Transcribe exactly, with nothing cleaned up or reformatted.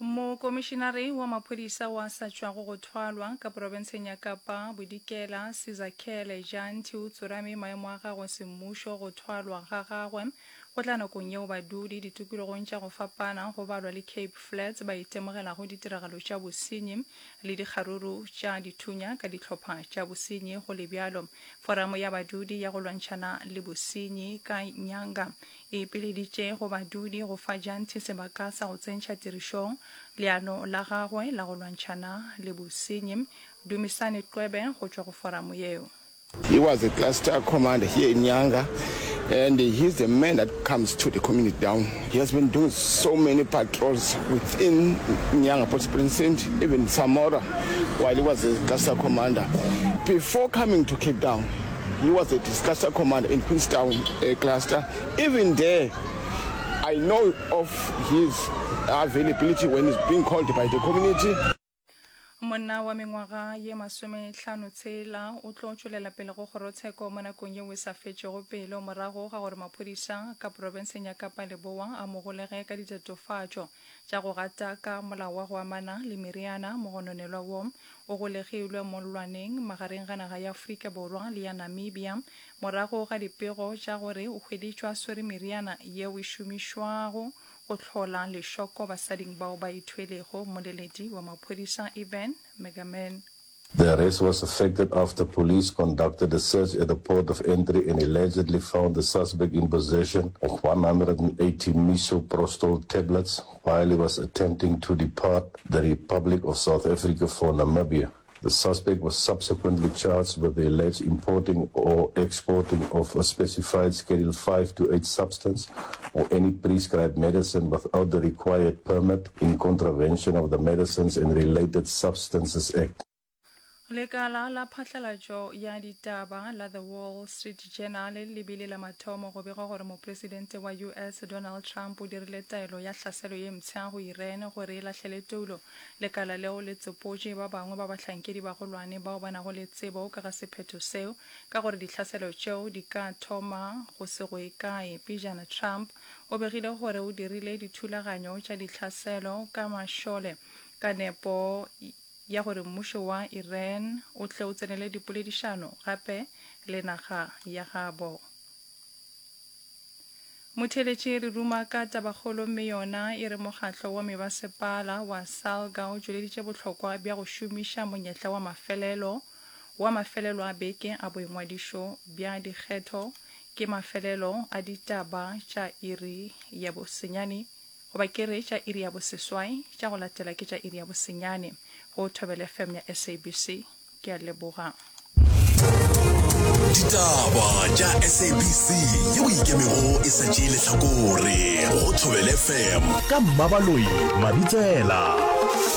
Mokomišinare wa maphodisa wa sa tšwago go thwalwa ka profenseng ya Kapa Bodikela Sizakhele Janti o tsorame maemo a gagwe semmušo. Go thwalwa ga gagwe go tla nakong yeo badudi ditokologong tša go fapana go balwa le Cape Flats ba itemogelago ditiragalo tša bosenyi le dikgaruru tša dithunya ka dihlopha tša bosenyi. Go le bjalo, foramo ya badudi ya go lwantšhana le bosenyi ka Nyanga e ipileditše go badudi go fa Janti sebaka sa go tsentšha tirišong leano la gagwe la go lwantšhana le bosenyi. Dumisani Qwebe go tšwa go foramo yeo. He was a cluster commander here in Nyanga, and he's the man that comes to the community down. He has been doing so many patrols within Nyanga Police Precinct, even Samora, while he was a cluster commander. Before coming to Cape Town, he was a cluster commander in Queenstown uh, cluster. Even there, I know of his availability when he's being called by the community. Monna wa mengwaga ye masomehlano tshela o tlo tšwelela pele go kgorotsheko mo nakong yeo e sa fetšego pelo morago ga gore maphodisa ka profenseng ya Kapa Leboa a mo golege ka ditatofatšo tša go gataka molao wa go amana le meriana. Mogononelwa wo o golegilwe mollwaneng magareng ga naga ya Afrika Borwa le ya Namibia morago ga dipego tša gore o hweditšwe a swere meriana yeo e šomišwago go hlola lešoko basading bao ba ithwelego. Mmoleledi wa maphodisa Ivan Megaman. The arrest was effected after police conducted a search at the port of entry and allegedly found the suspect in possession of one hundred and eighty misoprostol tablets while he was attempting to depart the Republic of South Africa for Namibia. The suspect was subsequently charged with the alleged importing or exporting of a specified Schedule five to eight substance or any prescribed medicine without the required permit in contravention of the Medicines and Related Substances Act. Lekala la phatlalatšo ya ditaba la The Wall Street Journal le bile la mathomo go bega gore mopresidente wa U S Donald Trump o dirile taelo ya hlaselo ye mpsha go Iran gore e lahlele toulo. Lekala leo le tsopotše ba bangwe ba bahlankedi bagolwane bao ba nago le tsebo ka ga sephetho seo ka gore dihlaselo tšeo di ka thoma go se go ye kae. Pejana Trump o begile gore o dirile dithulaganyo tša dihlaselo ka mašole ka nepo ya gore mmušo wa Iran o tle o tsenele dipoledišano gape le naga ya gabo. Motheeletši re ruma ka tabakgolo mme yona e re mokgatlo wa mebasepala wa SALGA o tšweleditše bohlokwa bja go šomiša monyetla wa mafelelo wa mafelelo a beke a boingwadišo bja dikgetho ke mafelelo a ditaba tša iri ya bosenyane goba ke re tša iri ya boseswai tša go latela ke tša iri ya bosenyane go Thobela F M ya S A B C. Ke a leboga. Ditaba tša S A B C yeo ikemego e sa tšee lehlakore go Thobela F M ka Mmabaloi Mabitsela.